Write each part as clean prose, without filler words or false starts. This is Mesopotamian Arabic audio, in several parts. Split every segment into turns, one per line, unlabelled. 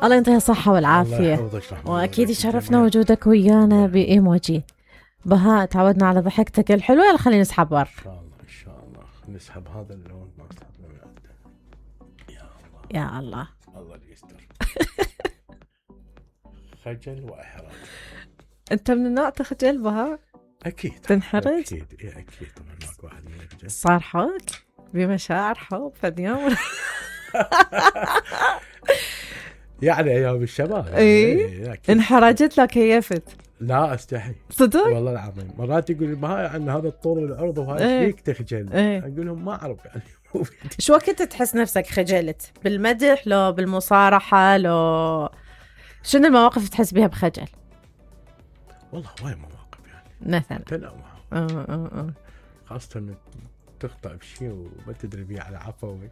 الله يعطيها الصحة والعافية.
الله يحفظك رحمة.
واكيد يشرفنا وجودك ويانا بايموجي. بهاء تعودنا على ضحكتك الحلوة. يلا خلينا نسحب بر.
ان شاء الله ان شاء الله نسحب هذا اللون ما سحبنا من عنده.
يا الله
الله اللي يستر. خجل واحراج.
انت من النوع تخجل بهاء؟
اكيد
تنحرج؟
اكيد اكيد طبعا ماكو واحد من يخجل.
صار حب بمشاعر حب فد يوم.
يعني ايام الشباب
اي انحرجت لك كيفت؟
لا استحي
صدق
والله العظيم. مرات يقول بهاي عن هذا الطول والعرض وهاي ايش فيك تخجل؟ اقول لهم ما اعرف يعني.
شو وقت تحس نفسك خجلت؟ بالمدح لو بالمصارحة لو شنو المواقف تحس بها بخجل؟
والله هواي مواقف يعني
مثلا
تنوع خاصة من تخطأ بشيء وما تدري بيه على عفوي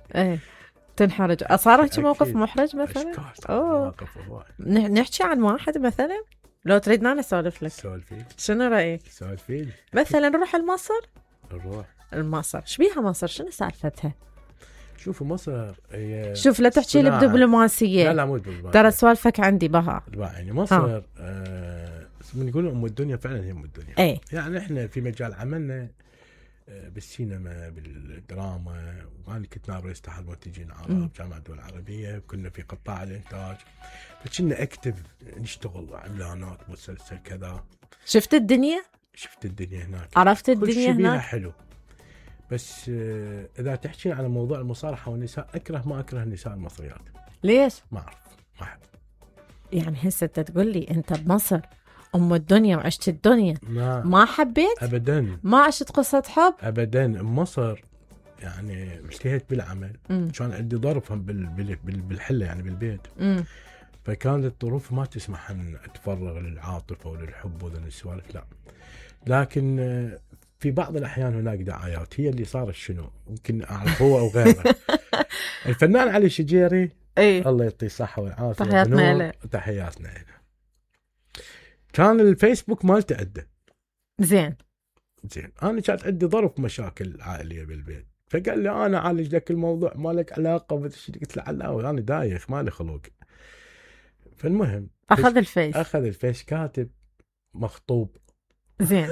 تنحرج. صارت موقف محرج مثلا؟
مواقف هواي.
نحكي عن واحد مثلا لو تريدنا نسولف لك.
سولفي.
شنو رأيك؟
سولفي.
مثلا نروح لمصر.
نروح
مصر شبيها مصر شنو سالفتها؟
شوفوا مصر هي
شوف لا تحكي لي بدبلوماسية.
لا مو دبلوماسية.
ترى سوالفك عندي بها.
يعني مصر من يقولوا ام الدنيا فعلا هي ام الدنيا. يعني احنا في مجال عملنا بالسينما بالدراما وانا كنت نائب رئيس اتحاد المنتجين العرب جامعة الدول العربية. كنا في قطاع الانتاج فكنا اكتب نشتغل اعلانات مسلسل كذا.
شفت الدنيا
هناك.
عرفت الدنيا
كل شيء بيها
هناك
حلو. بس اذا تحكين على موضوع المصارحة والنساء ما اكره النساء المصريات.
ليش؟
ما اعرف ما احب. يعني
هسه تقول لي انت بمصر ام الدنيا وعشت الدنيا ما حبيت
ابدا.
ما عشت قصة حب
ابدا. مصر يعني اجتهدت بالعمل. كان عندي ظرف بالحله يعني بالبيت. فكانت الظروف ما تسمح ان اتفرغ للعاطفه وللحب وذا السوالف لا. لكن في بعض الاحيان هناك دعايات هي اللي صارت شنو يمكن اعرف هو او غيره. الفنان علي شجيري الله يعطيه الصحه والعافيه. تحياتنا له. كان الفيسبوك مالته عده زين انا كانت عندي ظرف مشاكل عائليه بالبيت. فقال لي انا اعالج لك الموضوع ما لك علاقه. قلت له لا انا دايخ ما لي خلق. فالمهم اخذ الفيس كاتب مخطوب.
زين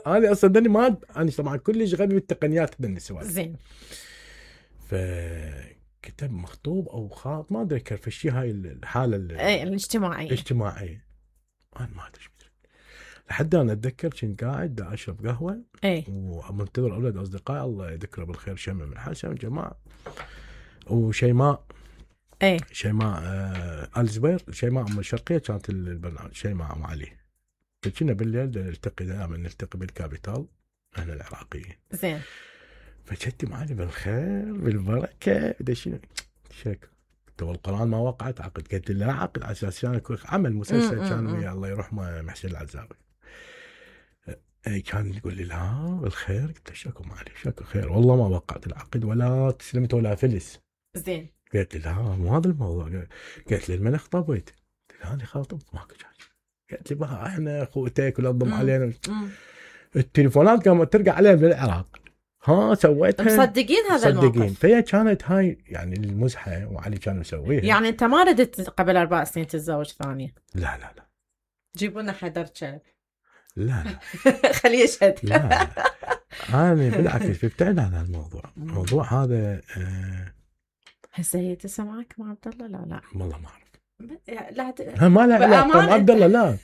انا اصلا انا طبعا كلش غبي بالتقنيات هذا السوالف.
زين
فكتب مخطوب او خاط ما ادري كيف الشيء هاي الحاله الاجتماعيه انا ما ادري لحد انا اتذكر كنت قاعد دا اشرب قهوه ومنتظر اولاد اصدقائي الله يذكره بالخير شمع من حسن جماعه وشيماء شيماء آل زبير. شيماء ام الشرقيه كانت البرنامج شيماء ام علي. فكنا بالليل دائما نلتقي بالكابيتال احنا العراقيين.
زين
فجدتي معي بالخير بالبركه دشينا شك والقرآن ما وقعت عقد. قلت لا عقد على اساس كان عمل مسلسل كان ويا الله يرحمه محسن العزاوي. كان يقول لي لا بالخير. قلت له شكو معلي شكو خير والله ما وقعت العقد ولا تسلمت ولا فلس.
زين
قلت له لا مو هذا الموضوع. قلت لي من خطبت؟ قلت له انا خاطب ماكو شيء. قلت لي بقى احنا اخوتك ولا تضم علينا. التليفونات قامت ترجع علينا بالعراق. سويتها
مصدقين هذا الموقف.
فهي كانت هاي يعني المزحه وعلي كان مسويها.
يعني انت ما ردت قبل 4 سنين تتزوج ثانيه؟
لا
جيبوا لنا حيدر كلب.
لا
خليه يشهد.
لا انا بالعكس ابتعد عن الموضوع. الموضوع هذا
هسه هي تسمعك مع عبد الله؟ لا
والله ما اعرف.
ما
لا علاقه عبد الله لا.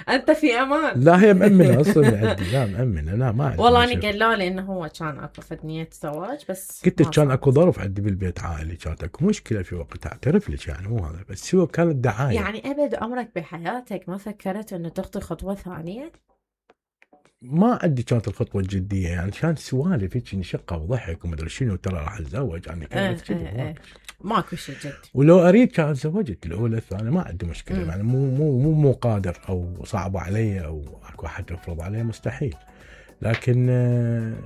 انت في امان.
لا هي مأمنه اصلا عندي. لا مأمنه لا ما عندي.
والله انا قالوا لي انه هو كان اكو فدنيه زواج بس
قلت كان اكو ظرف عندي بالبيت عائلي كانت اكو مشكله في وقتها اعترف لك يعني مو هذا بس هو كانت دعايه.
يعني ابد عمرك بحياتك ما فكرت انه تخطي خطوه ثانيه؟
ما عندي كانت الخطوه الجديه يعني كانت سوالف هيك نشقه وضحك وما ادري شنو ترى راح اتزوج يعني كانت كذا
ماكو شيء جد.
ولو اريد كان تزوجت الاولى الثانيه ما عندي مشكله يعني مو قادر او صعب علي او اكو احد يفرض علي مستحيل. لكن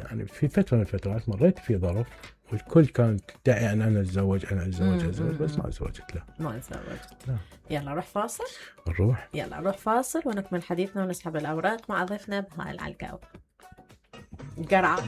يعني في فتره من الفترات مريت في ظرف والكل كانت تدعي ان انا اتزوج بس ما تزوجت. لا
ما تزوجت. يلا روح فاصل. نروح فاصل ونكمل حديثنا ونسحب الاوراق مع ضيفنا بهاء العلقاوي. قرعه